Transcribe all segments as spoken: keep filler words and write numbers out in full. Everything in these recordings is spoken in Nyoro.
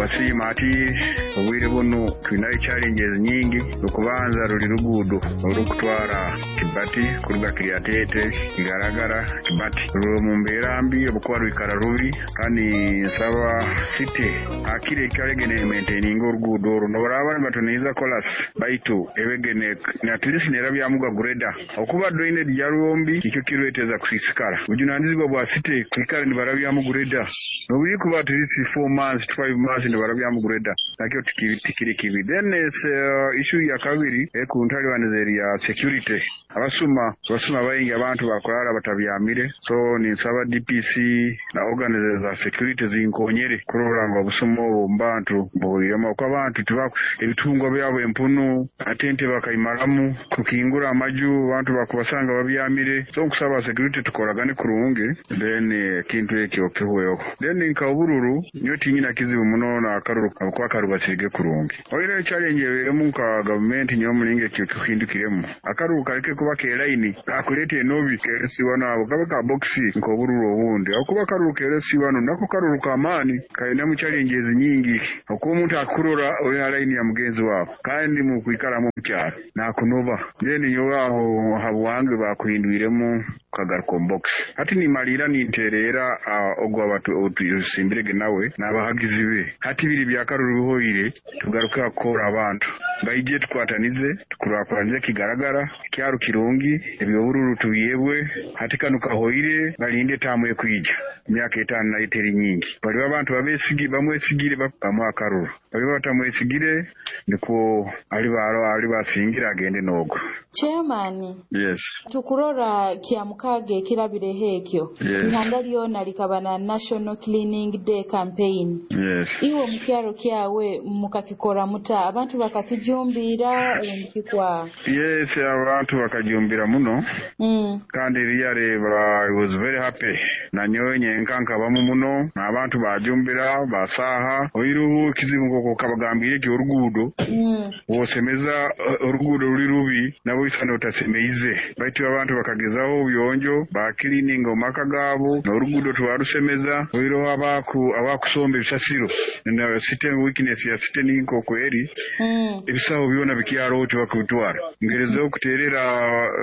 Nitubasiima. Ati obwire bunu twinayo challenges nyingi. Okubanza ruli ruguudo orukutwara Kibati kuruga Kiryatete, Kigaragara, Kibati, ruri mu mbeera mbi obukuba rwikara rubi. Kandi nsaba city akire ikalege nemaintaininga oruguudo oru. Nobaraba nibatuniiza kolas, baitu ebegene at least nerabyamuga grader, okuba drainage yarwo mbi, nikyo kireteza kusiisikara. Bujunanizibwa bwa city kwikara nibarabyamu grader, nobulikuba at least four months to five months nibarabyamu grader, nakyo tikiri kibi. Then uh, issue ya kabiri ekuntalibaniza eri ya security. Abasuma, abasuma baingi, abantu bakurara batabyamire. So ninsaba D P C na organizers za security zinkonyere kurora ngu obusuma obwo omu bantu buhwiremu, okuba abantu tibaku ebitungwa byabo, empunu ate ente bakaimaramu, kukingura amaju, abantu bakubasanga babyamire. So nkusaba security tukoragane kurungi, then ekintu ekyo kihweho. Then nka obururu, nyowe tinyina kizibu muno n'akaruru habwokuba karubasirige kurungi. Oine challenge eberemu nka gavumenti, nyowe omulingo ekyo kihindukiremu, akaruru kareke kuba k'elaini kakuleeta enobi keresiwa nabo, kabe ka box nk'obururu obundi, habwokuba akaruru keresiwano nako karuru k'amaani, kainemu challenges nyingi, okuba omuntu akukurora ori ha line ya mugenzi wawe kandi mukwikaramu omukyaro nakunoba. Then nyowe aho habwange bakuhindwiremu kagaruka omu box. Hati nimaliira nintereera ogwo otusimbirege nawe n'abahagizi be. Hati biri byakaruru bihoire, tugaruke hakukora abantu baije tukwatanize, tukurakuranize Kigaragara, kyaro kirungi. Ebyobururu tubyebwe, hati kanu kahoire, balinde etaamu ekwija. Emyaka etaano nayo teri nyingi. Baliba abantu babesigi bamwesigire, bamuha akaruru, baliba batamwesigire, nikwo aliba aliba asingira agende n'ogwo. Chairman. Yes. Tukurora kya mukaaga ekirabireho ekyo, Yes. ihanga lyona likaba na National Cleaning Day campaign. Yes. Iwe omukyaro kyawe mukakikora muta? Abantu bakakijumbira omukikwa? Yes, abantu bakajumbira muno. mm. Kandi really I was very happy, nanyowe nyenka nkabamu muno n'abantu bajumbira basaha. Oiruhu ekizibu nkoko kabagambire eki oruguudo, Mm. wosemeza eh, oruguudo ruli rubi, nabo isana otasemeize, baitu abantu bakagezaho obuyonjo, bakilininga omu maka gaabo n'oruguudo twarusemeza. Oiroho abaku abakusomba ebisasiro na city, weakness ya city ninkoko eri, Mm. ebisaho byona bikyaro tibakubitwara. Ngerezeho kuterera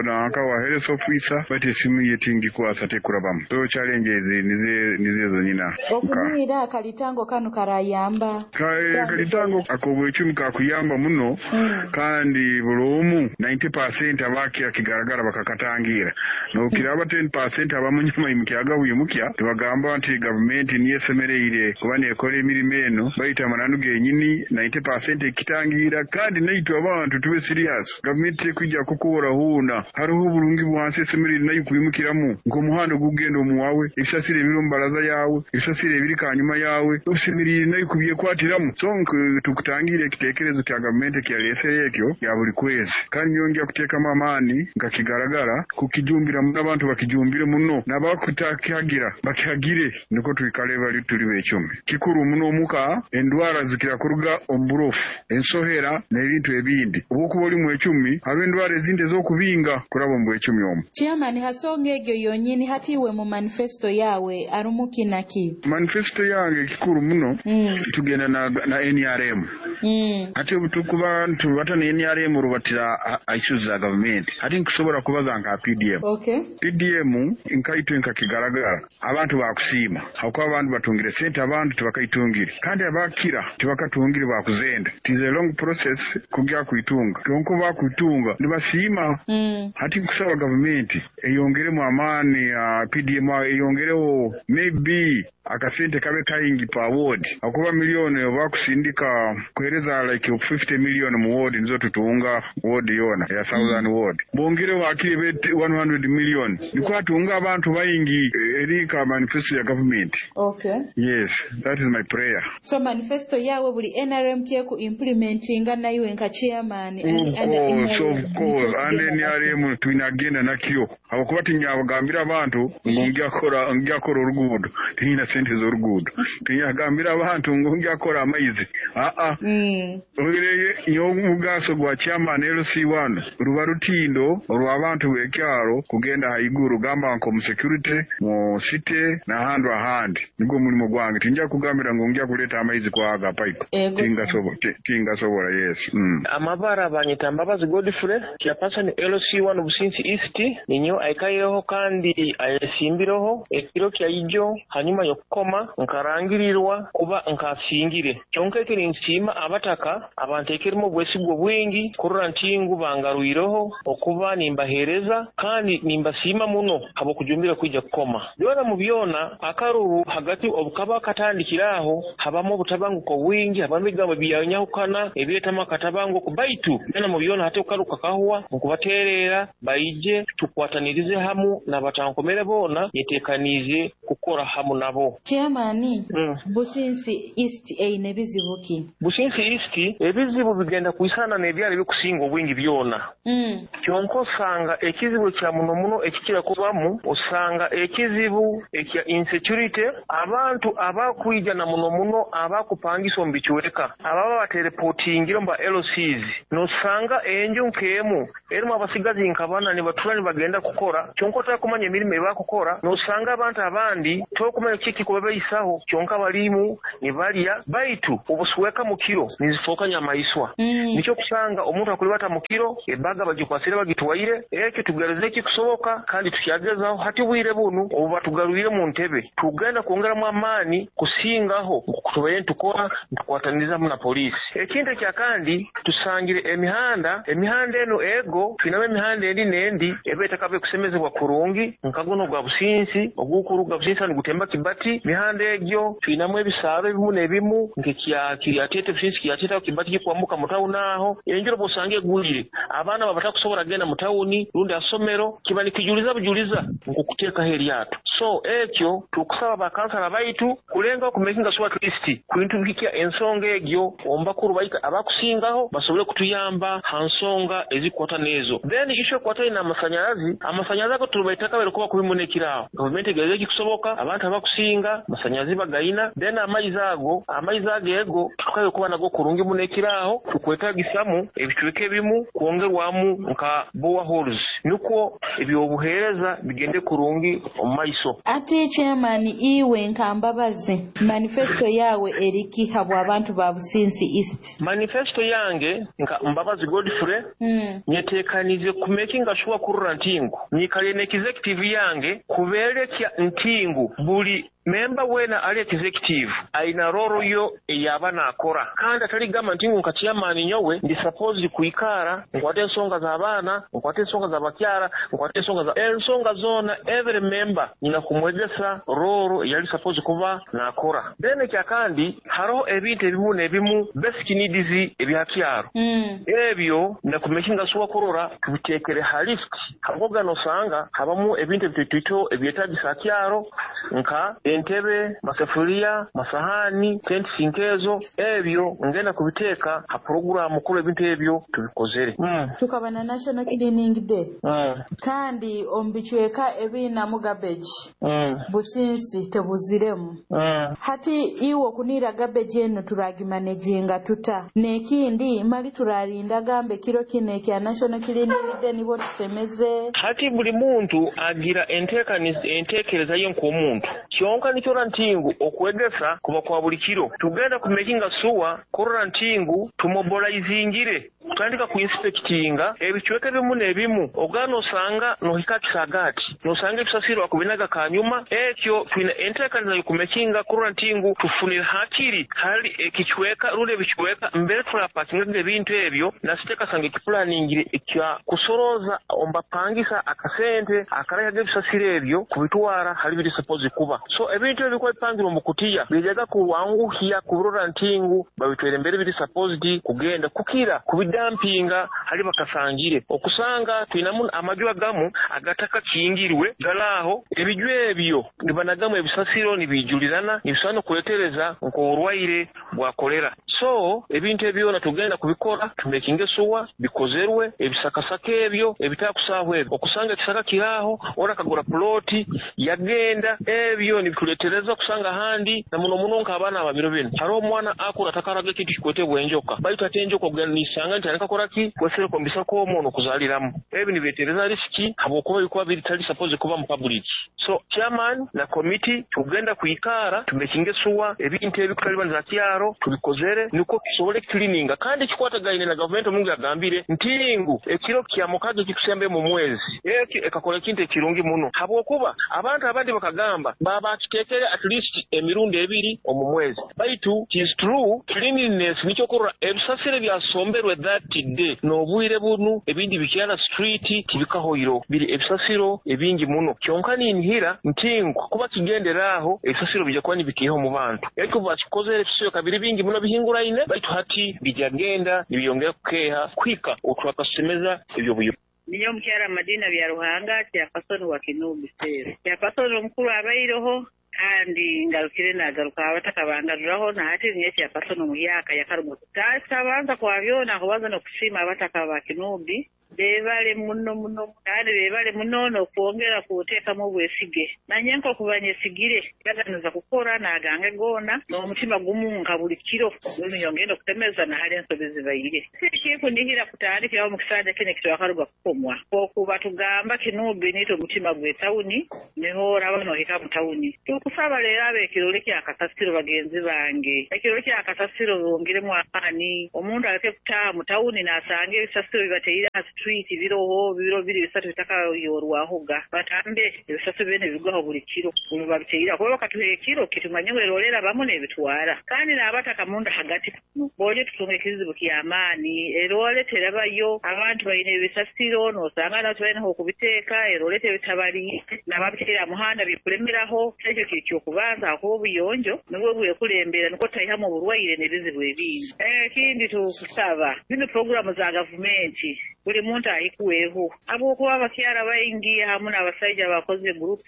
nanka wa health officer, baitu esimu ye tingikwasa, tekurabamu. So challenges nize nizezo nyina. Okunywira akalitango kanu karayamba? Ka- kalitango ak'obwecumi kakuyamba muno. Mm. Kandi buli omu ninety percent abakira Kigaragara bakakatangira, nokiraba ten percent abamunyuma imukyaga bwimukya tibagamba nti gavumenti niyo esemereire kuba nekora emirimo eno, baitu amananu genyini ninety percent ekitangira. Kandi naitwe abantu tube serious, gavumenti tekwijja kukora huuna. Hariho oburungi bwansi esemereire nayo kwimukiramu, nk'omuhanda ogugenda omuwawe, ebisasiro ebiri omu baraza yawe, ebisasiro ebiri kanyuma yawe, osemereire nayo kubyekwatiramu. So nk- tukutangira ekitekerezo kya gavumenti ekyalesere ekyo ya buli kwezi, kandi nyongera kuteekamu amaani nka Kigaragara kukijumbira muno, abantu bakijumbire muno, n'abakutakihagira bakihagire, niko twikale bali tuli becumi. Kikuru muno omuka, endwara zikira kuruga omu burofu, ensohera n'ebintu ebindi. Obwokuba oli mwecumi, hariho endwara ezindi ez'okubinga kuraba omu bwecumi omu. Chairman, hasonga egyo yonyini, hati iwe mu manifesto yawe arumu kinaki? Manifesto yange kikuru muno, mm. tugenda na, na N R M. Mm. Ate obutukuba tubata na N R M, rubatira issues za gavumenti. Ati nkusobola kubaza nka P D M. Okay. P D M nkaitwe nka Kigaragara abantu bakusiima, hakuba abantu batungire sente, abantu tibakaitungire, kandi abakira tibakatungire, bakuzenda. It is a long process kugya kuitunga, kyonka bakuitunga nibasiima. Mm. Hati nkusaba gavumenti eyongeremu amaani ya P D M, eyongereho maybe akasente kabe kaingi pa ward, akuba miliyoni oba kusindika kuhereza like fifty million mu ward, nizo tutunga ward yona ya Southern Ward, bongereho akiri ebe one hundred million, niko atunga abantu baingi. Eri ka manifesto ya government. Okay. Yes, that is my prayer. So manifesto yawe buli N R M kyeku implementinga, naiwe nka chairman? Of course, of course, and N R M twinagenda nakyo. Habwokuba tinyabagambira abantu ngu ngyakora ngyakora oruguudo, tinyina sente z'oruguudo. Tinyagambira abantu ngu ngyakora amaizi. Aa Mm. Oireye nyowe omugaso gwa chairman L C one ruba rutindo orw'abantu b'ekyaro kugenda haiguru gamba nk'omu security, mu city n'ahantu ahandi. Nigwo mulimo gwange. Tinja kugambira ngu nja kuleeta amaizi kwaga pipe. Ego. Tingasobo-, ti-, tingasobola, yes. Mm. Amabara banyita Mbabazi Godfrey, chairperson L C one Businsi East, ninyo aikaireho kandi ayesimbireho ekiro kya ijo hanyuma y'okukoma nkarangirirwa kuba nkasingire. Kyonka ekiri nsiima abataka abanteekeremu obwesigwa bwingi kurora nti ngu bangarwireho okuba nimbaheereza kandi nimbasiima muno habw'okujumbira kwija kukoma. Byona mu byona akaruru hagati obukaba katandikira aho habamu obutabanguko bwingi, habamu ebigambo byanyahukana ebireetamu akatabanguko, baitu byona mu byona hati okaruka kahwa nkubateerera baije tukwatanirize hamu n'abatankomere boona nyeteekaniize kukora hamu nabo. Chairman, Mm. Businsi East eine bizibu ki? Businsi East ebizibu bigenda kwisana n'ebyalo ebikusinga obwingi byona. Mm. Kyonka osanga ekizibu kya muno muno ekikira kubamu, osanga ekizibu ekya insecurity, abantu abakwija na muno muno abakupangisa omu bicweka, ababa baterepotingire mu ba L Cs, nosanga enju nk'emu erimu abasigazi nka bana nibatura nibagenda kukora, kyonka otakumanya emirimu ebakukora, nosanga abantu abandi tokumanya kiki kubabaisaho, kyonka balimu nibalya, baitu obusweka mu kiro nizifooka nyamaiswa. Mm. Nikyo kusanga omuntu akulibata mu kiro ebaga bagikwasire bagitwaire, ekyo tugereze ekikusoboka kandi tukyagezaho hati bwire bunu obu batugarwire mu ntebe tugenda kwongeramu amaani kusingaho tubaye ntukora ntukwatanirizamu na polisi. Ekintu ekya kandi tusangire emihanda, emihanda eno ego twinamu emihanda endi n'endi eba etakabe kusemezebwa kurungi nka guno gwa Businsi ogukuruga Businsi nigutemba Kibati. Mihanda egyo twinamu ebisaaro ebimu n'ebimu nk'ekya Kiryatete Businsi Kiryatete Kibati kikwambuka mu tawuni aho enjura bw'osanga egwire abaana baba batakusobola kugenda mu tawuni rundi asomero kiba nikijuliza bujuliza nkukuteekaho eryato. So ekyo tukusaba bakansala baitu kulenga okumakinga sure at least kwintubikia ensonga egyo omu bakuru baitu abakusingaho basobole kutuyamba ha nsonga ezikwata n'ezo. Then issue ekwataine n'amasanyarazi, amasanyarazi ago tubaitaka bari kuba kubi muno ekiraaho. Gavumenti egereze ekikusoboka abantu abakusinga amasanyarazi bagayina, then amaizi ago, amaizi ago ego tukabe kuba nago kurungi muno ekiraaho, tukwetagisamu ebicweka ebimu kwongerwamu nka boreholes nukwo ebyobuheereza bigende kurungi omu maiso. Ate chairman iwe nka Mbabazi, manifesto yawe eriki habwa abantu ba Businsi East? Manifesto yange nka Mbabazi Godfrey Mm. nyetekanize kumakinga sure kurora ntingu nyikale ne executive yange kuberekya ntingu buli memba wena ali executive aina roro yo eyaba nakora kandi atali gamba ntingu nka chairman nyowe ndi supposed kuikara nkwate ensonga z'abaana, nkwate ensonga z'abakyara, nkwate ensonga za ensonga zona every member nyina kumwegesa roro yali supposed kuba nakora. Then ekya kandi hariho ebintu ebimu n'ebimu basic needs ebyakyaro Mm. ebyo nakumakinga sure kurora tubitekere ha list habwoga nosanga habamu ebintu ebitoito ebyetagisa kyaro nka entebe, masefuria, masahani, tenti nkezo, ebyo ngenda kubiteeka ha programu kula ebintu ebyo tubikozere. Mm. Tukaba na National Cleaning Day. Mm. Kandi omu bicweka ebinamu garbage Mm. Businsi tebuziremu. Mm. Hati iwe okunira garbage eno turagimanejinga tuta nekindi mali turarinda gambe kiro kino ekya National Cleaning Day nibo tusemeze. Hati buli muntu agira enteekaniza enteekereza ye nk'omuntu kyonka nikyora ntingu okwegesa kuba kwa buli kiro tugenda kumakinga sure kurora ntingu tumobilizingire kutandika kuinspectinga ebicweka ebimu n'ebimu ogana osanga nohika kisagati nosanga ebisasiro akubinaga kanyuma ekyo twina enteekaniza y'okumakinga kurora ntingu tufunire hakiri hali ekicweka rundi ebicweka mbere turapakingaga ebintu ebyo nasiteekasanga ekiplaningire ekya kusoroza ombapangisa akasente akarayaga ebisasiro ebyo kubitwara hali biri supposed kuba. So ebintu ebyo bikuba bipangirwe mu kutiya bijaga kuwanguhya kurora ntingu babitwere mbere biri supposed kugenda kukira kubidampinga hali bakasangire okusanga twinamu amaju agamu agataka kingirwe galaho ebiju ebyo nibanagamu ebisasiro nibijulirana nibisobola kuletereza nk'oburwaire bwa kolera. So ebintu ebyona tugenda kubikora, tumekinge suwa bikozerwe ebisakasaka ebyo ebitakusaaho ebyo okusanga ekisaka kiraaho ora akagura ploti yagenda ebyo nibituleetereza kusanga ahandi na muno muno nk'abaana ababiro binu hariho omwana akura atakaraga ekintu kikwetebwa enjoka, baitu ate enjoka ogenda niisanga nti alikakora ki kwesereka omu bisaka omwo n'okuzaaliramu. Ebi nibireetereza risiki habwokuba bikuba bitali supposed kuba mu public. So chairman na committee tugenda kwikara tumekinge suwa ebintu ebi kutalibaniza kyaro tubikozere nukwo tusobole cleaninga. Kandi ekikwatagaine na gavumenti omungu yagambire nti ngu ekiro kya mukaga ekikusembe mu mwezi ekyo ekakora ekintu ekirungi muno, habwokuba abantu abandi bakagamba babakiteekere at least emirundi ebiri omu mwezi, baitu it is true cleanliness nikyo kurora ebisasire byasomberwe that day n'obwire bunu ebindi bikyala street tibikahoiro biri ebisasiro ebingi muno. Kyonka ninhira nti ngu kuba kigenderaaho ebisasiro bijja kuba nibikiiha omu bantu. Ekyo bakikozere ebisasiro kabiri bingi muno bihinguraine, baitu hati bijagenda nibyongera kukeeha kuhika otwakasemeza ebyobuyo. Niyo omukyala Madina bya Ruhanga kyapasoni wa Kinubi Sero. Kyapasoni omukuru abaireho kandi ngarukire nagaruka abataka bangaruraho na hati niye kyapasoni omuyaka yakaruga kutabanza kwa byona kubanza n'okusiima abataka ba Kinubi bebale muno muno kandi bebale muno n'okwongera kuteekamu obwesige nanye nk'okubanyesigire yaganiza kukora nagange goona n'omutima gumu nka buli kiro nyongenda okutemeza nahali ensobi zibaire. Sikikunihira kutandikiraho mu kisanja kino ekitwakaruga kukomwa okuba tugamba Kinubi niito omutima gw'etawuni niho oraba nohika mu tawuni. Tukusaba leero ab'ekirole kya kasasiro bagenzi bange, ekirole kya kasasiro bongiremu amaani, omuntu aleke kutaaha mu tawuni n'asanga ebisasiro bibateire ha street biroho biro biri bisatu bitakayorwahoga batambe ebisasiro byene bigwaho buli kiro babiteire kuba bakatuha ekiro kitumanye ngu erolera bamu n'ebitwara. Kandi n'abataka munda hagati bonye tutunga ekizibu ky'amaani erole terabayo abantu balina ebisasiro n'osanga nabo tibalina okubiteeka erole tebitabali n'ababiteera muhanda bikulemeraho. Ekyo kiri kyokubanza akuba obuyonjo nibwo bwekulembera nukwo taihamu oburwaire n'ebizibu ebindi. Ekindi tukusaba zino puroguramu za gavumenti buli muntu ahikuweho habwokuba abakyara baingi hamu n'abasaija bakoze groups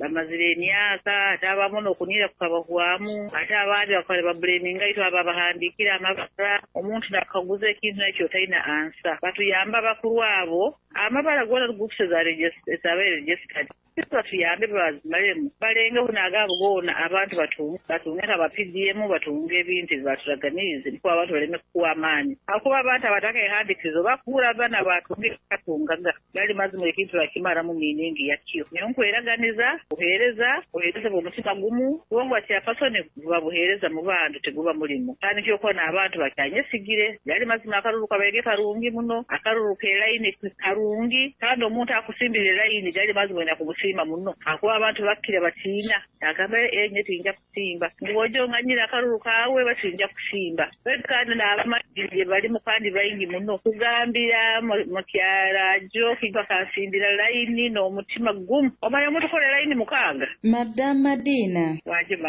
bamazire emyaka ate abamu n'okunira kukabahwamu ate abandi bakaba bablaminga itwe abo abahandiikire amabara omuntu nakaguza ekintu nakyo otalina ansa batuyamba abakuru abo amabara goona groups ezabaire registered batuyambe bazimalemu balengeho n'agaabo goona abantu batunge batunge aba P D M batunge ebintu ebibaturaganiize niko abantu baleme kukuwa amaani hakuba abantu abatakaehandiikirizo bakuura abaana batunge katungaga gali mazima ekintu bakimaramu miiningi yakyo. Niyo nkweraganiza buheereza buheereza bw'omutima gumu kubanga kyapasoni buba buheereza mu bantu teguba mulimu kandi kyokuba n'abantu bakyanyesigire gali mazima akaruru kabaire karungi muno akaruru k'elayini karungi kandi omuntu akusimbira elayini gali mazima oyina kumusiima muno akuba abantu bakkira batiina agamba enye tinja kusimba ngu nganyira akaruru kaawe batinja kusimba kandi n'abamanyi balimu kandi baingi muno kugambira mukyala jo kiba kasimbira layini n'omutima gumu omanya omuntu kola layini mukaaga. Madam Madina,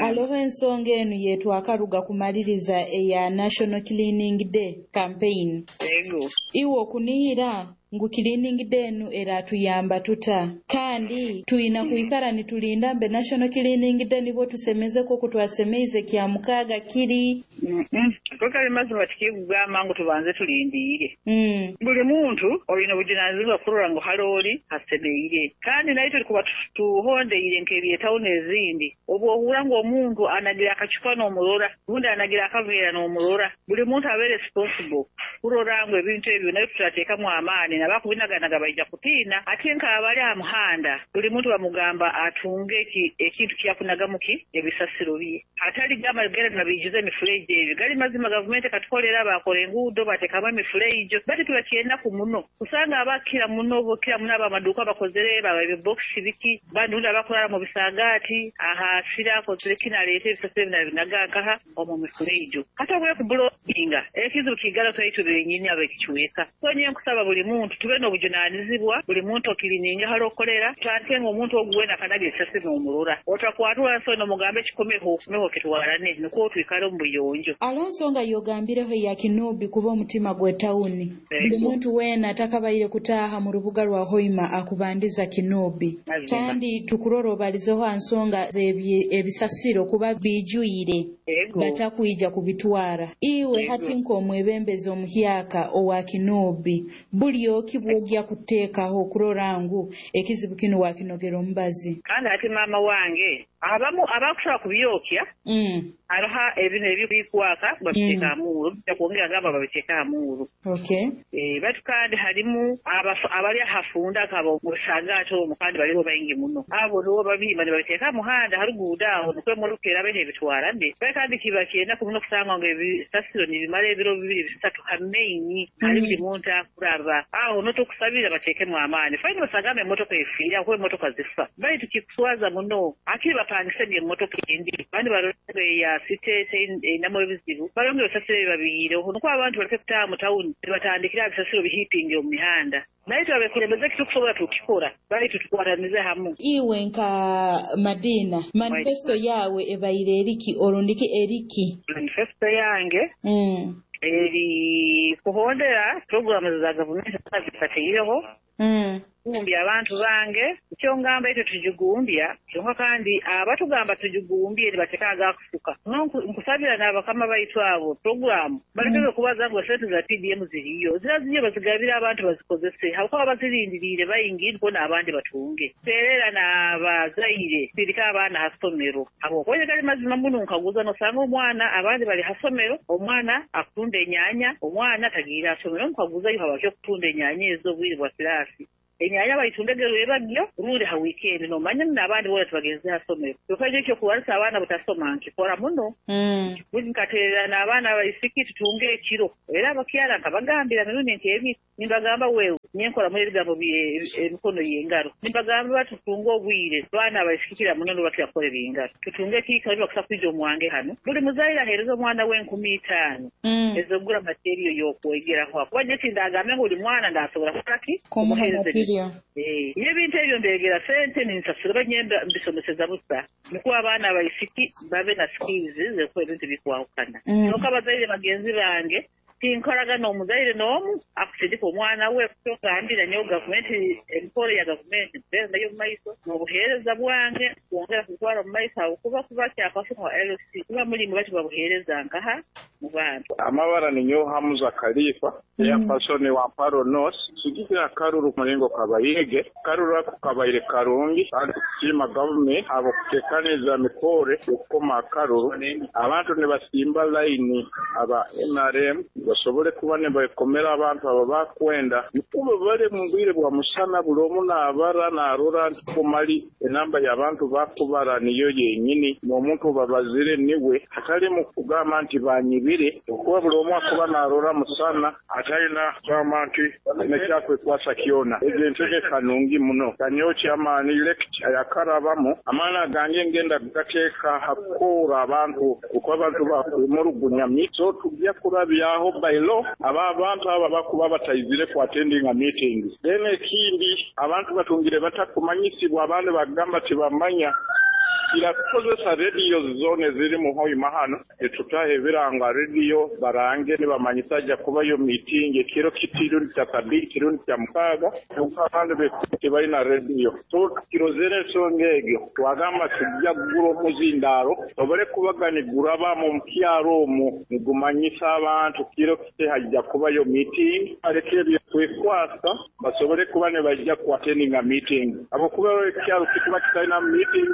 aloho ensonga enu yetwakaruga kumaliriza eya National Cleaning Day campaign. Ego. Iwe okunihira ngu cleaning day enu eratuyamba tuta kandi tuyina kuikara nitulinda mbe National Cleaning Day nibo tusemezeko kutwasemeize kya mukaga kiri mm -mm. Mazima tikigamba ngu tubanze tulindiire mm. Buli muntu olina obujunanizibwa kurora ngu halooli hasemeire kandi naitwe tulikuba tuhondeire nk'ebyetawuni ezindi obu ohura ngu omuntu anagira akacupa n'omurora rundi anagira akaveera n'omurora buli muntu abe responsible kurora ngu ebintu ebyo nayo tutateekamu amaani nabakubinaganaga baija kutiina ate nk'abali aha muhanda buli muntu bamugamba atunge ekintu kyakunagamu ki ebisasiro bye atali gamba gera nabiijuza emifureji ebyo gali mazima gavumenti katukolera bakora enguudo bateekamu emifurejo bati tubakyenaku muno kusanga abakira muno bokira muno abamaduuka bakozere baba ebibokisi biki bandi rundi abakurara mu bisagaati ahasira akozere kinaleeta ebisasiro bina nkaha omu mifurejo kati obwe kubulokinga ekizibu kigala twaitu benyini abekichweka so nye nkusaba buli muntu muntu tube n'obujunanizibwa, buli muntu okirininga hali okolera, tutandike ng'omuntu ogu wena akanaga ebisasiro n'omurora. Otakwatwa nsoni omugambe kikomeho, komeho kitwarane, nukwo twikale omu buyonjo. Alonso nga yogambireho ya Kinubi kuba omutima gwe tawuni. Buli muntu wena atakabaire kutaaha mu rubuga rwa Hoima akubandiza Kinubi. Kandi tukurora obalizeho nsonga ebisasiro kuba bijwire batakwija kubitwara. Iwe hati nk'omwebembezi omuhyaka owa Kinubi, buli oki bwogya kuteekaho okurora ngu ekizibu kinu wakinogera omubazi. Kandi hati maama wange abamu abakushobora kubyokya mm. hariho ebintu ebikwaka babiteeka mm. amuuru kwongera gamba babiteeka amuuru. Okay. Eh, batu kandi harimu abali ahafunda akabo musagato omu kandi baliho baingi muno abo nibo babihimba nibabiteeka muhanda haruguudo aho nukwe murukera behe bitwarane. Kandi kiba kyenda kumuno kusanga ngu ebisasiro nibimara ebiro bibiri bisatu hameinyi mm. hari buli muntu akuraba aho notokusabira bateekemu amaani faini basagamba emotoka efiire aho emotoka zifa baitu kikuswaza muno akiri bapangisege emotoka endi bandi barore ya site einamu ebizibu barongera ebisasiro ebibabiyireho nukwo abantu baleke kutaaha mu tawuni nibatandikira ebisasiro bihipinge omu mihanda. Baitu abekulembeze kitukusobola tukikora baitu tukwatanize hamu. Iwe nka Madina, manifesto yawe ebaire eriki orundiki eriki? Manifesto yange mm. eri kuhondera programu za gavumenti zifateireho mm. kugumbya abantu bange ekyo ngamba ekyo tujigumbya kyonka kandi abatugamba tujigumbye nibateka agakufuka. Nkusabira n'abakama baitu abo programu balekeze kubaza ngu sente za P D M ziriyo zira ziriyo bazigabira abantu bazikozese habwokuba bazirindiriire baingi niko n'abandi batunge. Terera n'abazaire sirika abaana hasomero habwokuba gali mazima muno nkaguza nosanga omwana abandi bali hasomero omwana akutunda enyanya omwana tagiira asomero nkaguzayo habaki okutunda enyanya ezo obwire bwa kirasi. Enyanya bayitundege rwebagyo rundi ha weekend nomanya n'abandi bora tubagenze hasomero. Kyokka ekyo kubarisa abaana butasoma nkikora muno. Mm. Buli nkaterera n'abaana abaisiki tutunge ekiro. Era abakyala nkabagambira mirundi nti ebi nimbagamba wewe nyenkora muri ebigambo emikono y'engaro. Nimbagamba batutunge obwire abaana abaisiki muno nibakira kukora ebingaro. Tutunge ekiikaro nibakusa kwija omwange hano. Buli muzaire aheereza omwana we enkumi itaano mm. ez'okugura materiyo y'okwegeraho. Kuba nje tindagambe ngu buli mwana ndasobola kukora ki? Kumuha Eh, ebintu ebyo mbegera sente ninsasura banyemba mbisomeseza busa nikuwa abaana abaisiki babe na skills z'okukola ebintu bikwahukana. Kyonka abazaire bagenzi bange tinkoraga n'omuzaire n'omu akusindika omwana we kutogambira nyowe gavumenti emikoro ya gavumenti nayo mu maiso n'obuheereza bwange kwongera kutwara mu maiso aho kuba kuba kyakafuna wa L C kuba mulimu bati babuheereza nkaha mu bantu. Amabara ni nyowe Hamuza Khalifa eyapasoni wa Mparo North sigikira karuru mulingo kabayige karuru ako kabaire karungi kandi kusiima gavumenti abo kutekaniza mikore okukoma akaruru abantu nibasimba layini aba N R M basobole kuba nibakomera abantu abo bakwenda nikuba bali mu bwire bwa musana buli omu naabara naarora nti kumali enamba y'abantu bakubara niyo yenyini n'omuntu babazire niwe hatali mu kugamba nti banyibire okuba buli omu akuba naarora musana atalina kugamba nti nekyakwekwaasa kyona. Ezo entegeka nungi muno kanyowe kyamaani elect ayakarabamu amaani agange ngenda gateeka hakukoora abantu kuko abantu bakwemulugunyamyi so tujja kurabyaho by law aba abantu aba bakuba batayizire ku attending a meeting. Then ekindi abantu batungire batakumanyisibwa abandi bagamba tibamanya irakozesa rediyo zone ziri mu Hoima hano etutahe ebiranga rediyo barange nibamanyisa ajja kubayo meeting ekiro kitirundi kya sabiti kirundi kya mukaaga abandi tebalina rediyo so tukirozere ensonga egyo twagamba tujja kugura omuzindaaro sobole kubaga niguraba mu kyaro omwo nigumanyisa abantu kiro kite hajja kubayo meeting aleke ebyo kwekwasa basobole kuba ne bajja ku attending a meeting abo kuba ekyalo kikuba kitalina meeting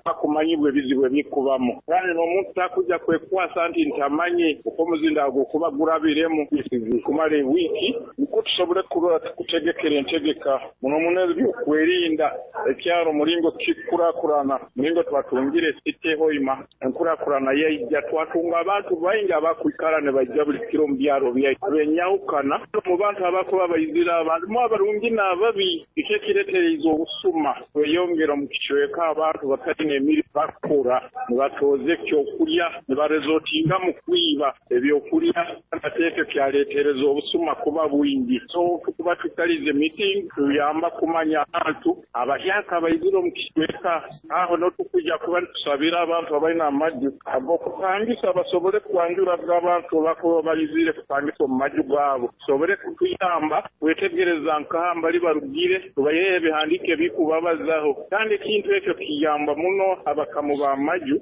bakumanyibwa ebizibu ebikubamu kandi n'omuntu takujja kwekwasa nti ntamanye uko omuzindaaro gukuba gurabiremu kumala ewiiki niko tusobole kuba tukutegekera entegeka muno muno ebyokwerinda ekyalo mulingo kikurakurana mulingo twatungire city Hoima enkurakurana yaijja twatunga abantu baingi abakwikara ne bajja buli kiro mu byalo byaitu abenyawukana mu bantu abakuba bayizira abantu mu abarungi n'ababi icyo kiretereza obusuma kweyongera mu kicweka abantu batali tibaina emirimu bakukora, nibatoza ekyokulya, nibarezotinga mu kwiba ebyokulya, ate ekyo kyaleetereza obusuma kuba bwingi. So tukuba tukalize meeting tuyamba kumanya abantu abahyaka baizire omu kicweka aho n'otukuja kuba nitusabira abantu abaina amaju ag'okupangisa basobole kwanjuraga abantu abakuba baizire kupangisa omu maju gaabo, tusobole kutuyamba kwetegereza nkaha mbali barugire, tubayehe ebihandiiko ebikubabazaho. Kandi ekintu ekyo kiyamba muno abakamu b'amaju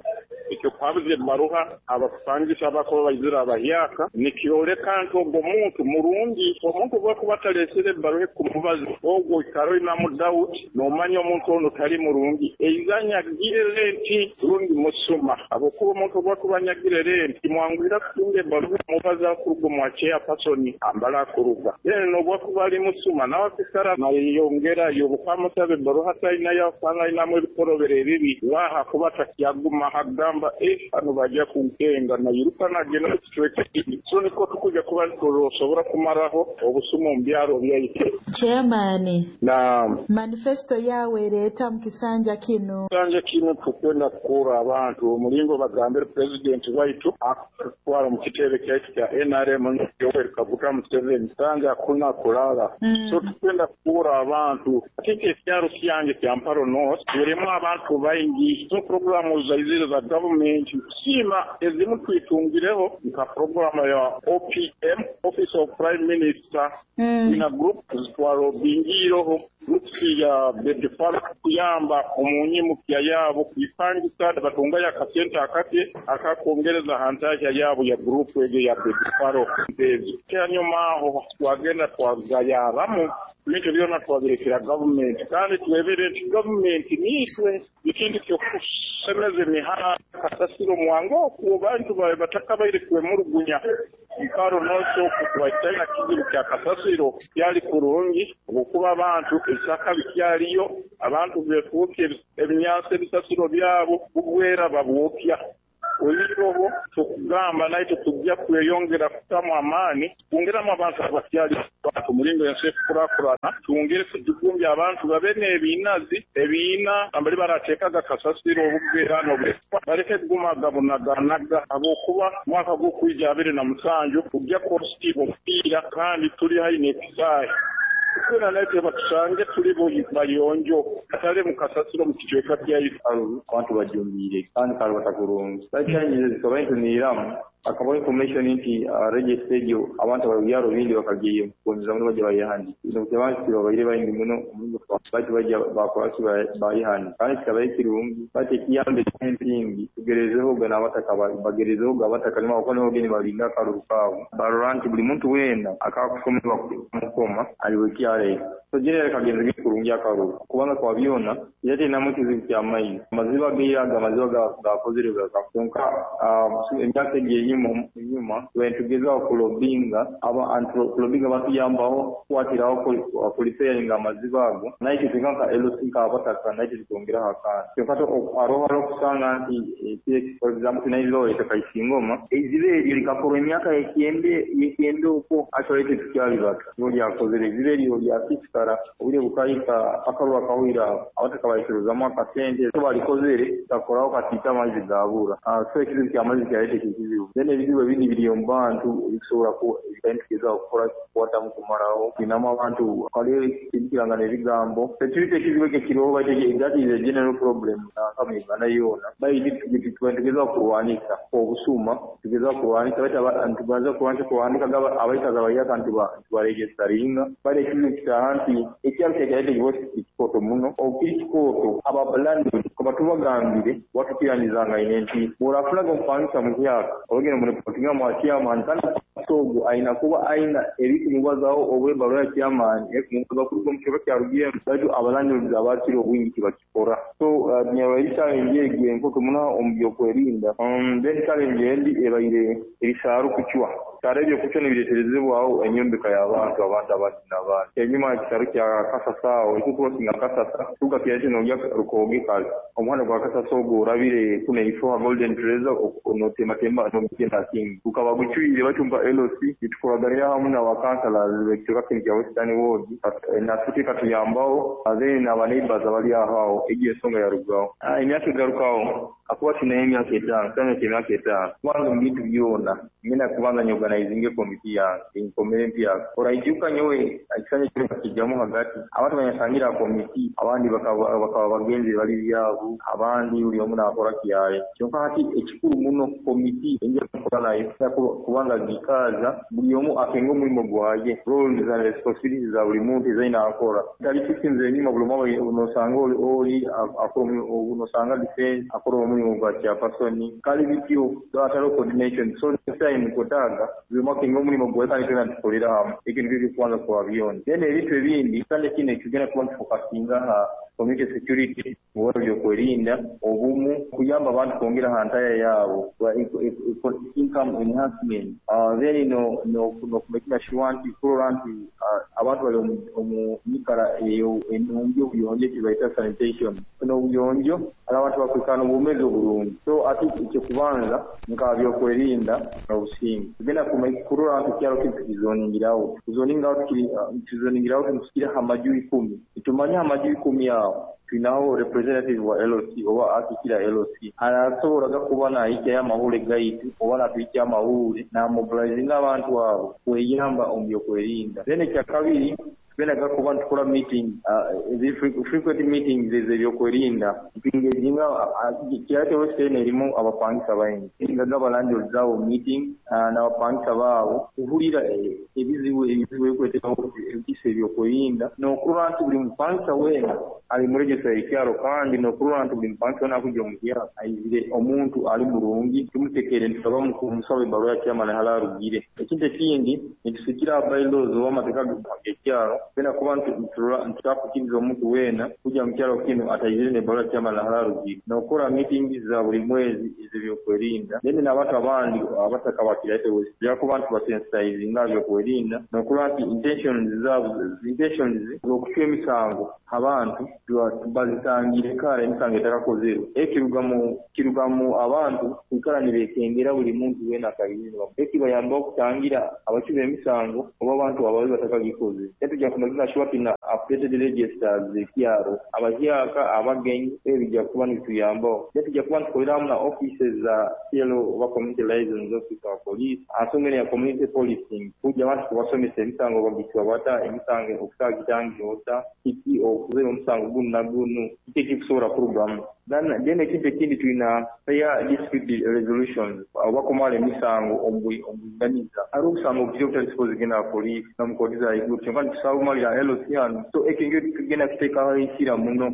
ekyo kwabuza ebbaruha abakupangisa abakuba baizire abahyaka, nikyoleka nti ogwo muntu murungi. Omuntu obwakuba ataleesere ebbaruha ekumubaza ogwo oikara oinamu doubt, noomanya omuntu onu tali murungi, eiza anyagire renti rundi musuma. Habwokuba omuntu obwakuba anyagire renti kimwanguhira kutunga ebbaruha emubaza kuruga omwa chairperson ambala akuruga. Then n'obwakuba ali musuma nawe akwikara nayeyongerayo, obu kwamusaba ebbaruha atainayo asanga ainamu ebikorobero ebibi, waaha kuba takyaguma agamba eh hano bajja kunkenga nayiruka nagenda mu kicweka ekindi. So niko tukuja kuba nitusobora kumaraho obusuma omu byaro byaitu. Chairman, Naam. manifesto yawe ereeta mu kisanja kinu. Kisanja kinu tukwenda kukura abantu omulingo bagambire president waitu akutwara mu kitebe kyaitu kya N R M Yoweri Kaguta Museveni sanga hakuna kulala. Mm. So tukwenda kukura abantu ate ekyaro kyange kya Mparo North kirimu abantu baingi. So programu zaizire za government kusiima ezimu twitungireho nka programu ya O P M, Office of Prime Minister, Mm. ina group zitwarobingireho groups ya bedfar kuyamba omunyimukya yaabo kwipangisa batungayo akasente akake akakwongereza hantahya yaabo ya group egyo ya bedfaro ezo. Kyanyuma aho twagenda twagayabamu ebintu byona twabirekera gavumenti, kandi twebere nti gavumenti niitwe ekintu kyokusemeza emihanda kasasiro mwangu okwo bantu bawe batakabaire kwemurugunya. Mparo North okwo tubaitaina kizibu kya kasasiro kyali kurungi okuba abantu ebisaka bikyaliyo, abantu befuukye ebinyansi ebisasiro byabo bugwera babwokya. Oyiroho tukugamba naye tukujja kweyongera kutamu amaani twongeramu abantu abakyali bantu mulingo ensi ekukurakurana, twongere kujugumbya abantu babe n'ebiinazi ebiina ambali barateekaga kasasiro obugwera n'obwekwa baleke kuguma gabunaganaga habwokuba mwaka gw'okwija abiri na musanju kujja kwositiibwa omupiira kandi tuli haihi n'ekisaayi. Twena naye tebatusange tuli bayonjo atali mu kasasiro mu kicweka kyaitu. Abantu bajumbiire kandi kalubata kurungi. Challenges zikaba ntuniramu akabaho information nti uh, register egyo abantu ababyaro bindi bakagiye kugonza muno bajya bayihandika. Ino abantu babaire baingi muno omulingo bati bajya bakwasi bayihandika kandi kikaba ekirungi bati ekiyambe empingi tugerezeho ga n'abataka bagerezeho ga abataka nimo kuko nibo geni balinda akaruru kaabo barora nti buli muntu weena akakusomerwa mukoma aliwe kyale. So jenera kagenze kurungi akaruru kubanga kwa byona yatinamu ekizibu kya maizi amaziba geiraga amaziba gakozere gakafunka emyaka egyo enyuma tugezaaho kulobinga aba kulobinga batuyambaho kukwatiraho kulipairinga amaziba ago naye kitweka nka L C nk'abataka naye twongeraho akaana kyonka hariho hariho okusanga nti for example tunaizibaho ettaka Isingoma eiziba eryo likakorwa emyaka yekyenda yekyenda okwo actually itwe tukyalibaka nibo lyakozere eiziba eryo lyasisikara obwire bukahika akaruru akahwire abataka baikirizamu akasente so balikozere kakoraho katiita amaizi gabura. So ekizibu ky'amaizi kyaleeta ekizibu. Then ebizibu ebindi biri omu bantu ebikusobola ebitugezaho kukora kukwatamu kumaraho twinamu abantu kale ekirangana ebigambo tekirita ekizibu ekyo kiriho baitu that is a general problem nanka mu Uganda yoona baitu tugezaho kurwanisa obusuma tugezaho kurwanisa baitu tubanza kurwanisa kuhandika abaikazi abahyaka ntubaregistaringa baitu ekizibu kitaaha nti ekyaro kyakyaleeta ekibo kikooto muno okiri kikooto abalandlord kuba tubagambire watukiranizangaine nti bw'orafulaga omupangisa muhyaka obagenda mureportinga mwa chairman kandi ogwo aina kuba aina ebikumubazaho oba ebbaruha ya chairman ekumubaza kuruga omu kicweka kyarugiremu baitu abalandlords abakira obwingi tibakikora. So nyabaire challenge egyo enkoto muno omu byokwerinda. Then challenge endi ebaire ebisaaru kucwa ebisaaru ebyo kucwa nibireeterezebwaho enyombeka y'abantu abantu abandi n'abandi. Enyuma ekisaaru kya Kasasa aho ekikurosinga Kasasa turuga kyaitu nogya Rukooge kale omuhanda gwa Kasasa ogwo orabire kuna ifo ha Golden Treasure notematema nogenda Kingi gukaba gucwire baitu L C nitukoraganira hamu n'aba councillors b'ekicweka kinu kya Western Ward, naffe katuyambaho, then n'aba neighbors abali aho aho. Egyo ensonga yarugaho. Emyaka egarukaho akuba tunayo emyaka etaano, kisanja ky'emyaka etaano. Kubanza omu bintu byona ngenda kubanza nyorganizinge komiti yange enkomere empyaka. Oraijuka nyowe ekisanja kinu bakijjamu hagati, abantu banyasangire ha komiti abandi bakaba bakaba bagenzi bali byabo, abandi buli omu naakora kyaye. Kyonka hati ekikuru muno, komiti enja kukora nayo kubanga giikaaza buli omu akenga omulimo gwaye, roles and responsibilities za buli muntu ezaine akora, tali systems enyuma buli omu nosanga oli akora, nosanga defense akora omulimu gwa chairperson, kali bityo hatariho coordination. So next time kwetaaga buli omu akenga omulimu gwaye kandi twena nitukolera hamu. Ekyo nikyo ekyokubanza kuba byona. Then ebintu ebindi, kisanja kinu ekigenda kuba nikifokasinga ha community security, mu byokwerinda, obumu, kuyamba abantu kwongera ha ntaya yaabo, income enhancement, then no nokumakinga sure nti kurora nti abantu bali omu nyikara enungi, obuyonjo, ekibaita sanitation n'obuyonjo, abantu bakwikara n'obwomeezi oburungi. So ati ekyokubanza nka byokwerinda n'obusinge, tugenda kurora nti ekyaro kinu tukizoningiraho tuzoningaho tukizoningiraho nitukira ha maju ikumi. Nitumanya ha maju ikumi aho twinaho representative wa L C oba akikira L C, arasoboraga kuba nahikyayo amahule gaitu oba natuhikya amahule namobilizinga abantu abo kweyamba omu byokwerinda. Then ekyakabiri, tugendaga kuba nitukora meeting, uh, frequent meetings ez'ebyokwerinda, tuengaginga Kiryate West eno erimu abapangisa baingi, ngaga abalandlords abo meeting uh, n'abapangisa baabo kuhulira ebizibu ebizibu ebikwetekaho ebisa ebyokwerinda, n'okurora nti buli mupangisa weena ali mu register y'ekyaro, kandi n'okurora nti buli mupangisa weena akujja omu kyaro aizire omuntu ali murungi, tumutekere ntusaba kumusaba ebbaruwa ya chairman hali arugire. Ekintu ekindi, nitusigira bylaws oba amateeka g'ekyaro, tugenda kuba ntitutakukiriza omuntu weena kujja mu kyaro kinu ataizire n'ebbaruwa ya chairman hali arugire, n'okukora meetings za buli mwezi ez'ebyokwerinda. Then n'abantu abandi abataka ba Kiryate West tujja kuba ntubasensitizinga byokwerinda, n'okurora nti intentions zaabo, intentions z'okucwa emisango abantu bazitangire kare emisango etakakozerwe. Ekiruga mu kiruga mu abantu kwikara nibekengera buli muntu weena akaizire, ekibayambaho kutangira abacwi b'emisango oba abantu ababi batakagikoze. Then tujja kumakinga sure tina updated registers z'ekyaro, abahyaka, abagenyi, ebyo bijja kuba nibituyambaho. Then tujja kuba nitukolera hamu na offices za C L O oba community liaisons officer wa police ansonga eno ya community policing, kujja abantu kubasomesa emisango bagicwa bata, emisango okutagitangira ota, kiki okuzera omusango gunu na gunu, kiki ekikusobola kurugamu. Then ekintu ekindi, tulina fair dispute resolutions oba kumala emisango omubwinganiza. Hariho obusango bukiri obutali supposed kugenda ha poliisi nomu kooti za iguru, kyonka nitusobola bumalira L C hano. So ekyo nikyo tugenda kuteekaho enkira muno.